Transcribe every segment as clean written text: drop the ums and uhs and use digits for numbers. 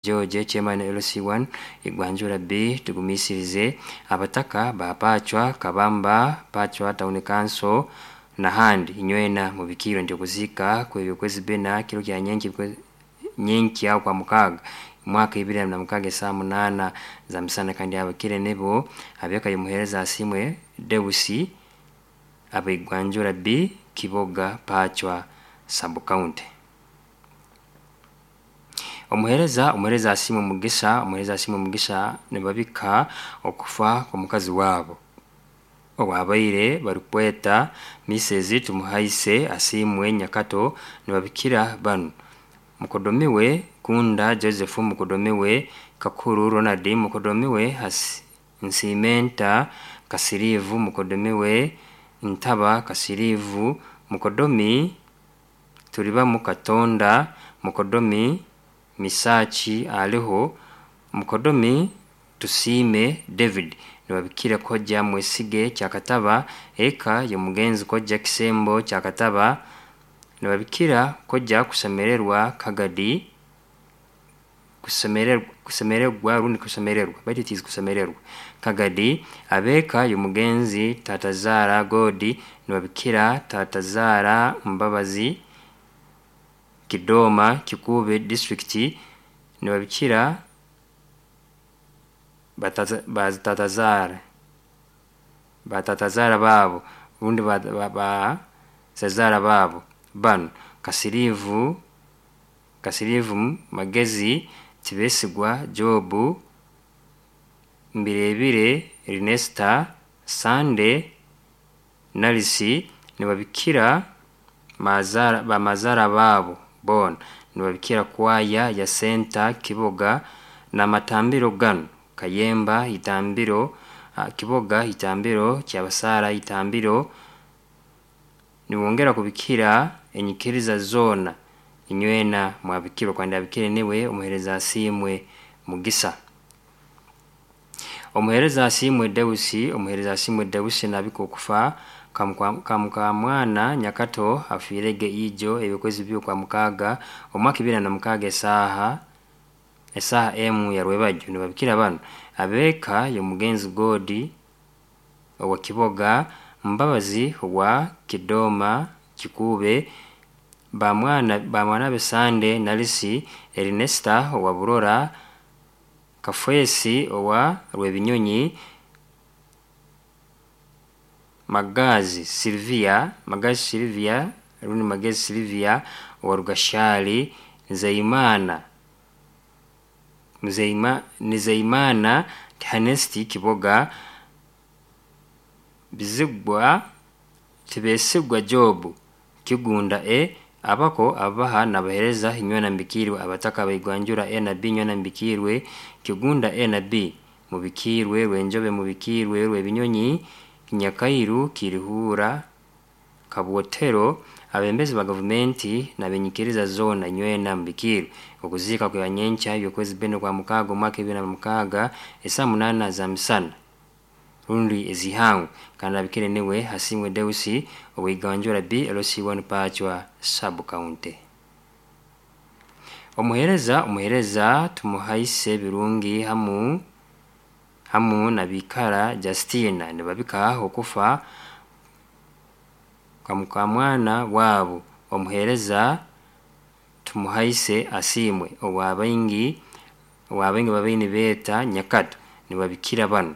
George, chairman LC1 Igwanjura B. Tugumisirize abataka ba Pachwa Kabamba, Pachwa Town Council nahandi, inywena mubikirwe nti okuzika kwebyokwezi bina kiro kya nyenki nyenkya kwa mukaaga mwaka 2026 esaa 8 za misana. Kandi abakire nibo abeka yomuhereza Asimwe Deusi abaigwanjura B, Kiboga, Pachwa sub county. Omuhereza Asimwe Mugisa, omuhereza Asimwe Mugisa nibabika okufa kw'omukazi waabo owabaire barikweta Mrs Tumuhaise Asimwe Nyakato. Nibabikira banu: mukodomi we Kunda Joseph, mukodomi we Kakuru Ronald, mukodomi we Nsimenta Kasirivu, mukodomi we Ntaba Kasirivu, mukodomi Turibamu Katonda, mukodomi Misaki aliho, mukodomi Tusiime David. Nibabikira Kojja Mwesige Kyakataba, eka y'omugenzi Kojja Kisembo Kyakataba. Nibabikira Kojja Kusemererwa Kagadi, kusemererwa rundi kusemererwa, baitu tizi kusemererwa Kagadi, abeka y'omugenzi Tatazaara Godi. Nibabikira Tatazaara Mbabazi, Kidoma, Kikuube district. Nibabikira batatazaara baabo rundi bazazaara baabo banu: Kasirivu Magezi, Tibesigwa Jobu, Mbirebire Ernesta, Sande Narisi. Nibabikira bamazaara baabo boona. Nibabikira kwaya ya Senta Kiboga n'amatambiro ganu: Kayemba Itambiro, Kiboga Itambiro, Kyabasaara Itambiro. Nibongera kubikira enyikiriza zoona. Inywena mwabikirwa. Kandi abikire niwe omuhereza Asiimwe Mugisa. Omuhereza Asiimwe Deusi, omuhereza Asiimwe Deusi nabika okufa kamukamwana Nyakato afiirege ijo ebyokwezi bibiri kwa mukaaga omwaka 2026 esaaha emu ya rwebagyo. Nibabikira banu: ab'eka y'omugenzi Godi owa Kiboga, Mbabazi owa Kidoma, Kikuube, bamwana be Sande Narisi, Ernesta owa Burora, Kafwesi owa Rwebinyonyi, Magazi Silvia, Magazi Silvia rundi Magezi Silvia owa Rugashali, Nzeyimana Nizeyimana Tihanesti Kiboga, Bizigwa Tibesigwa Jobu Kigunda E, abako abaha nabahereza, inywena mbikirwe. Abataka baigwanjura A na B, inywena mbikirwe. Kigunda A na B mubikirwe, Rwenjobe mubikirwe, Rwebinyonyi, Kinyakairu, Kiruhura, Kabwotero, abembezi ba gavumenti n'abenyikiriza zoona, inywena mubikirwe. Okuziika kwa nyenkya ebyokwezi bina kwa mukaaga omwaka 2026 esaa 8 za misana rundi ezihangwe. Kandi abikire niwe Asimwe Deusi ow'Iganjura B, LC1 Pachwa sub county. Omuhereza Tumuhaise Birungi hamu na Bikara Justina nibabika okufa kwa mukamwana waabo omuhereza Tumuhaise Asiimwe owabaingi babaire nibeeta Nyakato. Nibabikira banu: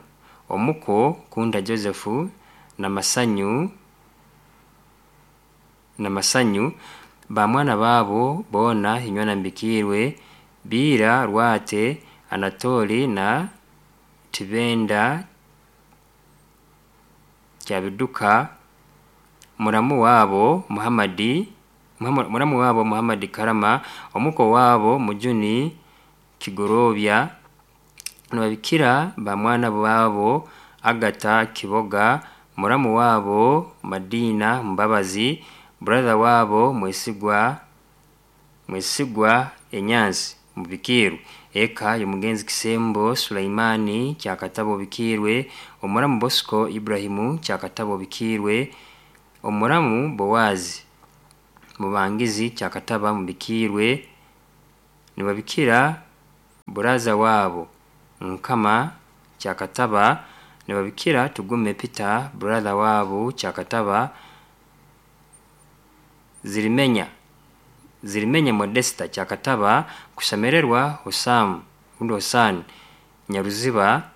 omuko Kunda Joseph Namasanyu, bamwana baabo boona, inywena mbikirwe. Biira Rwate Anatoli na Tibenda Kyabiduka, muramu waabo Muhammad Karama, omuko waabo Mujuni Kigorobya. Nibabikira bamwana baabo Agata Kiboga, muramu waabo Madina Mbabazi, brother waabo Mwesigwa Enyansi mubikirwe. Eka y'omugenzi Kisembo Sulaimani Kyakataba obikirwe, omuramu Bosco Ibrahimu Kyakataba obikirwe, omuramu Bowazi Mubangizi Kyakataba mubikirwe. Nibabikira. Buraza waabo Nkama Kyakataba, nibabikira Tugume Peter brother waabo Kyakataba, Zirimenya Zirimenya Modesta Kyakataba, Kushemererwa Hosam rundi Hosan Nyaruziba,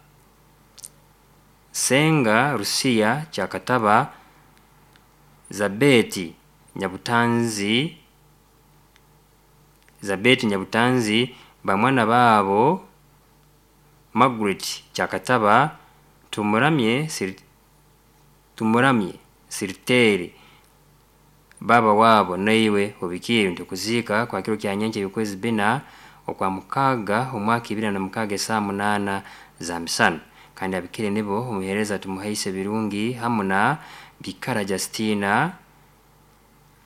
Senga Rusiya Kyakataba, Zabeti Nyabutanzi, Zabeti Nyabutanzi, bamwana baabo Margaret Kyakataba, Tumuramye Sir, Tumuramye Sirteri baba waabo naiwe obikiire nti okuziika kwa kiro kya nyenkya eby'okwezi bina okwa mukaaga omwaka 2026 esaaha 8 za misana. Kandi abikire nibo omuheereza Tumuhaise Birungi hamu na Bikara Justina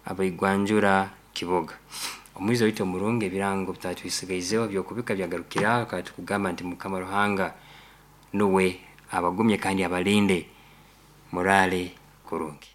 abaigwanjura Kiboga. Omwizi waitu omurungi, ebirango bitatwisigaizeho byokubika byagarukiraho, kandi tukugamba nti Mukama Ruhanga nuwe abagumye kandi abalinde, muraale kurungi.